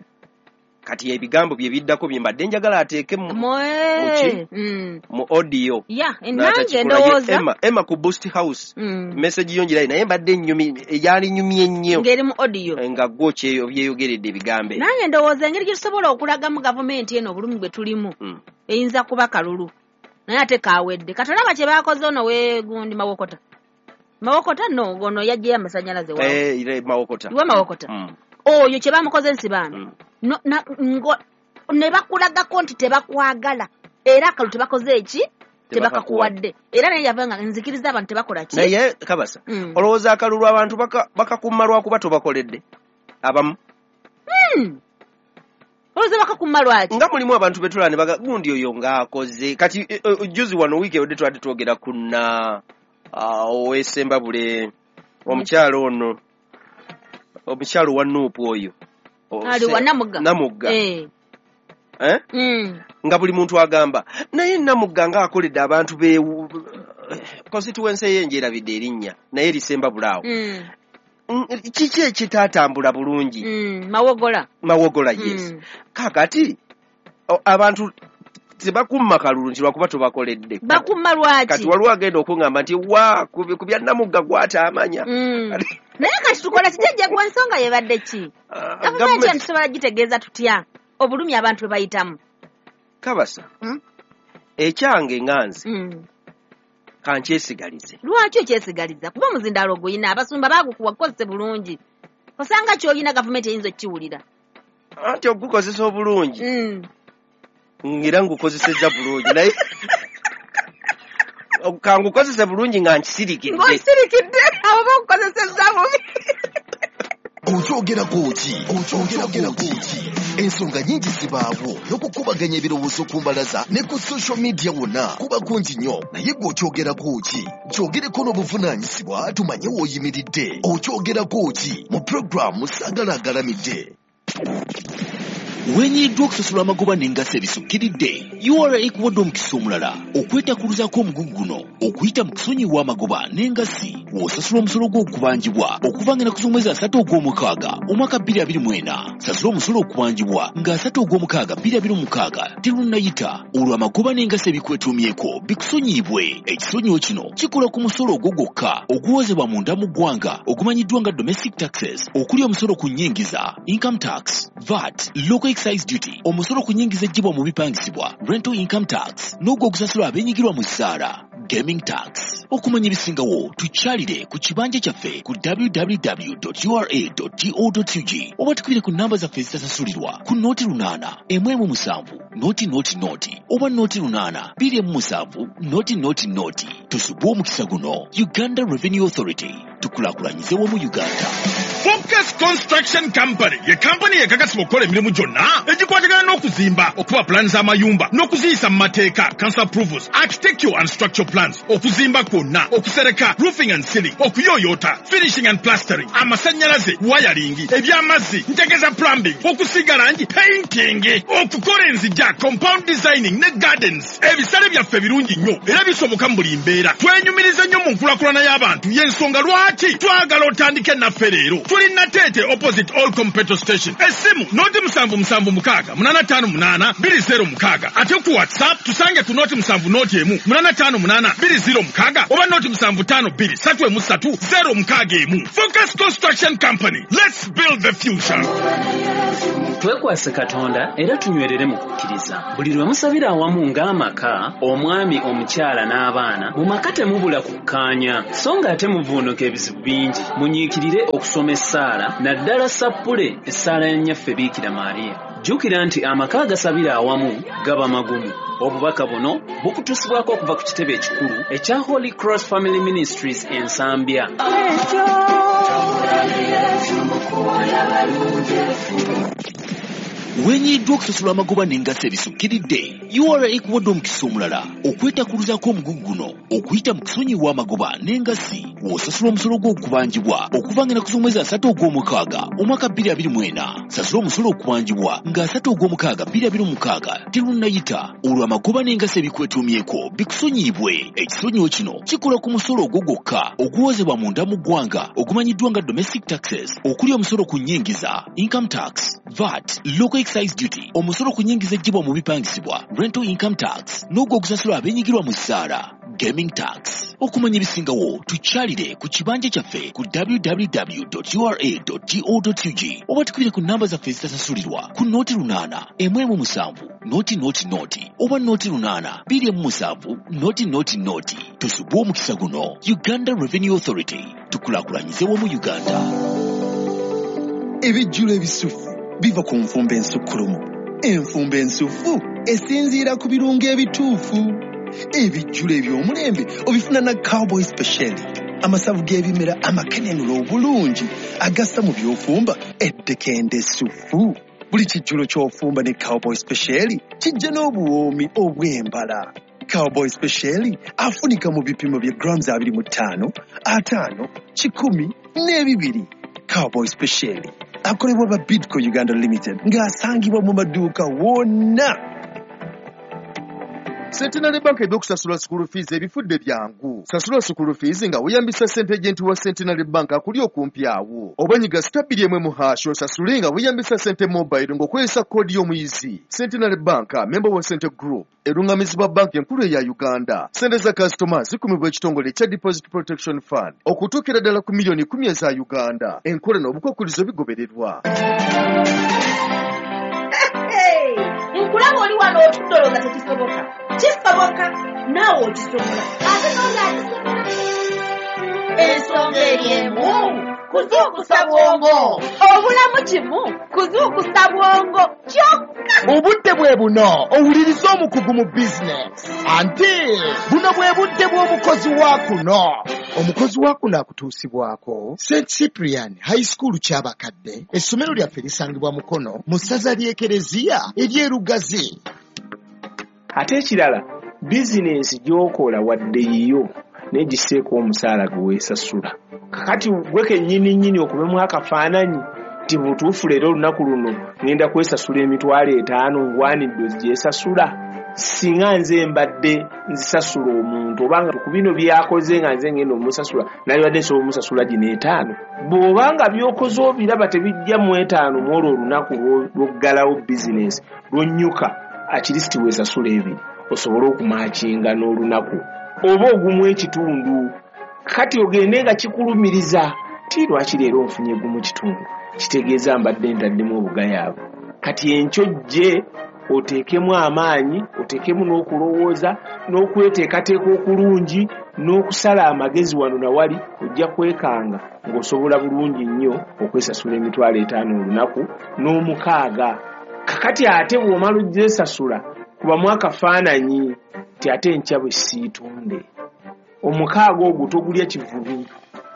kati ebigambo bye biddako bye mbadde njagala ateeke mu, Mwe. Mm. mu audio Ya, nange N'atakikola. Ye ndowooza. Emma, Emma ku Boost House Mm. message yo ngirayi naye mbadde nnyumi yalinyumye nnyo Ng'eri mu audio. nga gwo kyeyo byeyogeredde ebigambo ebyo. Nange ndowooza engeri gye tusobola okulagamu gavumenti eno obulumi bwe tulimu Mm. eyinza kuba kalulu naye ate kawedde. Kati olaba kye baakoze ono weegundi Mawokota. Mawokota no ono yaggyeyo amasannyalaze waawe. Eh, ire Mawokota. Iwe Mawokota. Mm. Oyo kye bamukoze Nsibambi. Mm. No, na, ngo, ne bakulagako nti tebakwagala era akalulu tebakoze eki tebakakuwadde era naye yava nga nzikiriza abantu tebakola ki Naye kabasa Mm. olowooza akalulu abantu baka- bakakumma lwakuba tobakoledde abamu Mm. Olowooza bakakumma lwaki nga mulimu abantu betulaba ne baga gundi oyo ng'akoze kati eh, eh, juzi wano wiiki ewedde twabadde twogera ku na ah, ow'Essembabule omukyalo ono omukyalo wa Nuupu oyo O- Ali se- wa Namugga. Namugga Eh. Eh? Mm. Nga buli muntu agamba naye Namugga ng'akoledde abantu be constituency ye njerabidde erinnya naye Lisembabule awo Mm. Mm, kiki ekitaatambula bulungi Mm. Mawogola. Mawogola yes Mm. kaakati o- abantu tebakumma kalulu nti lwakuba tobakoledde Bakumma lwaki kati waliwo agenda okuŋŋamba nti wa ku ku bya Namugga gw'ataamanya Mm. Naye kati tukola kijjajja gwe ensonga yebadde ki Ah, gavumenti gavumenti- eno tusobola gitegeeza tutya obulumi abantu bwe bayitamu kabasa Mm. ekyange nga nze Mm. kankyesigalize Lwaki okyesigaliza kuba omuzindaalo oguyina abasumba baagukuwa kukozese bulungi osanga ky'olina gavumenti eyinza okkiwulira anti ogukozesa obulungi Mm. ngira ngukozesezza bulungi naye kangukozese bulungi nga nkisirikidde Ng'osirikidde abo bakukozesezza bubi Okyogerako ki? Okyogerako ki? Ensonga nnyingi zibaawo n'okukubaganya ebirowoozo ku mbalaza ne ku social media wonna kuba kungi nnyo naye gwe okyogerako ki? Kyogereko n'obuvunaanyizibwa tumanye w'oyimiridde. Okyogerako ki? Mu pulogulaamu Saagala Agalamidde. Wenyiddwa okusasula amagoba n'engassi ebisukkiridde U R A ekuwadde omukisa omulala okwetakuluzaako omugugu guno okuyita mu kusonyiwa amagoba n'engassi w'osasula omusolo gw'okubanjibwa okuva ng'ennaku z'omwezi asatu ogw'omukaaga omwaka bbiri abiri mu ena. Sasula omusolo okubanjibwa nga asatu ogw'omukaaga bbiri abiri mu mukaaga terunnayita olwo amagoba n'engassi ebikwetuumyeko bikusonyiyibwe. Ekisonyiwo kino kikola ku musolo ogwo gwokka oguwozebwa munda mu ggwanga ogumanyiddwa nga domestic taxes okuli omusolo ku nnyingiza income tax, V A T, local excise duty, omusolo ku nnyingiza eggyibwa mu bipangisibwa rental income tax n'ogwo ogusasulwa abeenyigirwa mu ssaala gaming tax. Okumanya ebisingawo tukyalire ku kibanja kyaffe ku w w w dot u r a dot go dot u g oba tukubire ku namba zaffe ezitasasulirwa ku nooti lunaana emu emu musanvu nooti nooti nooti oba nooti lunaana bbiri emu musanvu nooti nooti nooti. Tusubwe omukisa guno. Uganda Revenue Authority, tukulaakulanyize wamu Uganda. Focus Construction Company ye kampani ekakasibwa okukola emirimu gyonna egikwatagana n'okuzimba, okuba pulaani z'amayumba n'okuziyisa mu mateeka, council approvals, architectural and structural plans, okuzimba kwonna, okusereka, roofing and ceiling, okuyooyoota, finishing and plastering, amasannyalaze, wiring, eby'amazzi, ntegeza plumbing, okusiiga langi, painting, okukola enzigya, compound designing ne gardens. Ebisale byaffe birungi nnyo era bisoboka mu buli mbeera. Twenyumiriza nnyo mu nkulaakulana y'abantu y'ensonga lwaki twagala otandike naffe leero. Tuli Nateete opposite All Petrol Station. Essimu noti musanvu musanvu mukaaga munaana ttaano munaana bbiri zero mukaaga. Ate ku WhatsApp tusange ku noti musanvu noti emu munaana ttaano munaana bbiri zero mukaaga oba noti musanvu ttaano bbiri ssatu emu ssatu zero mukaaga emu. Focus Construction Company. Let's build the future. Twekwase Katonda era tunywerere mu kukkiriza. Buli lwe musabira awamu ng'amaka, omwami, omukyala n'abaana, mu maka temubula kukkaanya, so ng'ate muvuunuka ebizibu bingi. Munyiikirire okusoma essaala, naddala sappule essaala ya Nnyaffe Biikira Maria. Jjukira nti amaka agasabira awamu gaba magumu. Obubaka buno bukutuusibwako okuva ku kitebe ekikulu ekya Holy Cross Family Ministries e Nsambya. Wenyiddwa okusasula amagoba n'engassi ebisukkiridde U R A ekuwadde omukisa omulala okwetakuluzaako omugugu guno okuyita mu kusonyiwa amagoba n'engassi W'osasula omusolo gw'okubanjibwa okuva ng'ennaku z'omwezi asatu ogw'omukaaga omwaka bbiri abiri mu ena. Sasula omusolo okubanjibwa nga asatu ogw'omukaaga bbiri abiri mu mukaaga terunnayita, olwo amagoba n'engassi ebikwetuumyeko bikusonyiyibwe. Ekisonyiwo kino kikola ku musolo ogwo gwokka oguwozebwa munda mu ggwanga ogumanyiddwa nga domestic taxes, okuli omusolo ku nnyingiza, income tax, V A T, local excise duty, omusolo ku nnyingiza eggyibwa mu bipangisibwa, rental income tax, n'ogwo ogusasulwa abeenyigirwa mu ssaala, gaming tax. Okumanya ebisingawo tukyalire ku kibanja kyaffe ku w w w dot u r a dot go dot u g oba tukubire ku namba zaffe ezitasasulirwa ku nooti lunaana emu emu musanvu nooti nooti nooti oba nooti lunaana bbiri emu musanvu nooti nooti nooti. Tusubwe omukisa guno. Uganda Revenue Authority, tukulaakulanyize wamu Uganda. Ebijjulo ebisufu biva ku nfumba ensukkulumu. Enfumba ensufu esinziira ku birungo ebituufu. Ebijjulo eby'omulembe obifuna na Cowboy Special, amasavu g'ebimera amakenenula obulungi agassa mu by'ofumba eddekende essufu. Buli kijjulo ky'ofumba ne Cowboy Special kijja n'obuwoomi obw'embala. Cowboy Special afunika mu bipimo bya grams abiri mu ttaano, ataano, kikumi n'ebibiri. Cowboy Special akolebwa ba Bidco Uganda Limited ng'asangibwa mu maduuka wonna. Centenary Bank ebyokusasula school fees ebifudde byangu. Sasula school fees nga weeyambisa ssente agent wa Centenary Bank akuli okumpi awo. Oba nyiga star bbiri emu hash osasule nga weeyambisa ssente mobile ng'okozesa koodi y'omuyizi. Centenary Bank, member wa Cente Group, erungamizibwa banki enkulu eya Uganda. Ssente za kasitoma zikumibwa ekitongole ekya Deposit Protection Fund okutuukira ddala ku miliyoni kkumi eza Uganda. Enkola n'obukwakkulizo bigobererwa. Nkulaba oli wano otudde olowooza tekisoboka. Kisoboka, naawe okisobola. Ate n'oli akisobola. Ensonga eri emu, kuzuukusa bwongo. Obulamu kimu, kuzuukusa bwongo kyokka. Obudde bwe buno owuliriza omukugu mu bizinesi. Anti buno bwe budde bw'omukozi wa kuno. Omukozi wa kuno akutuusibwako Saint Cyprian High School Kyabakadde. Essomero lyaffe lisangibwa Mukono mu ssaza ly'Ekereziya ery'e Lugazi. Ate ekirala, bizinensi gy'okola wadde yiyo naye giseeko omusaala gwe weesasula. Kakati gwe kennyini nnyini okubemu akafaananyi nti butuufu leero olunaku luno ŋŋenda kwesasula emitwalo etaano ngwanidde ogyesasula. Singa nze mbadde nzisasula omuntu obanga ku bino by'akoze nga nze ngenda omusasula nalibadde nsobola omusasula gino etaano. Bw'obanga by'okoze obiraba tebijja mu etaano mu olwo olunaku lw'oggalawo bizinensi lw'onnyuka, at least weesasula ebiri osobole okumakinga n'olunaku oba ogumu ekitundu. Kati ogende nga kikulumiriza ti lwaki leero nfunye gumu kitundu, kitegeeza mbadde ntaddemu obugayaavu. Kati enkyo jje oteekemu amaanyi, oteekemu n'okulowooza n'okweteekateeka okulungi n'okusala amagezi wano na wali, ojja kwekanga ng'osobola bulungi nnyo okwesasula emitwalo etaano olunaku n'omukaaga. Kakati ate bw'omala ogyesasula kubamu akafaananyi nti ate enkya bwe siitunde. Omukaaga ogwo togulya kivubi,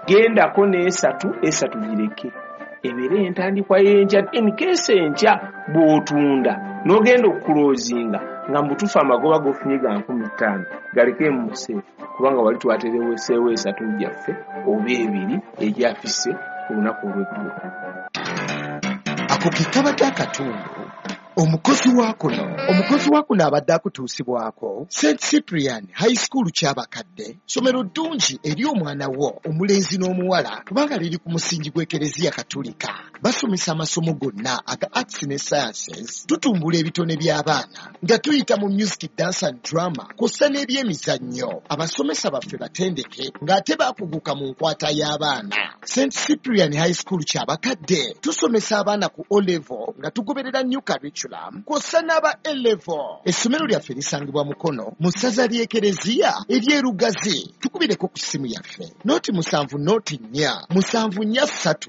gendako n'esatu, esatu gireke ebeere entandikwa y'enkya. In case enkya bw'otunda n'ogenda okukuloozinga nga mubutuufu amagoba g'ofunye ga nkumi ttaano galeke mu museefu, kubanga wali twatereweseewo esatu gyaffe oba ebiri egyafise ku lunaku olw'eggulo. Ako ke kabadde akatundu. Omukozi wa kuno, omukozi wa kuno abadde akutuusibwako Saint Cyprian High School Kyabakadde, ssomero ddungi eri omwana wo omulenzi n'omuwala kubanga liri ku musingi gw'Ekereziya Katolika. Basomesa amasomo gonna aga arts ne sciences, tutumbula ebitone by'abaana nga tuyita mu music, dance and drama kw'ossa n'ebyemizannyo. Abasomesa baffe batendeke ng'ate baakuguka mu nkwata y'abaana. Saint Cyprian High School Kyabakadde tusomesa abaana ku O level nga tugoberera new curriculum kw'ossa n'aba A level. Essomero lyaffe lisangibwa Mukono mu ssaza ly'Ekereziya ery'e Lugazi. Tukubireko ku ssimu yaffe nooti musanvu nooti nnya musanvu nnya ssatu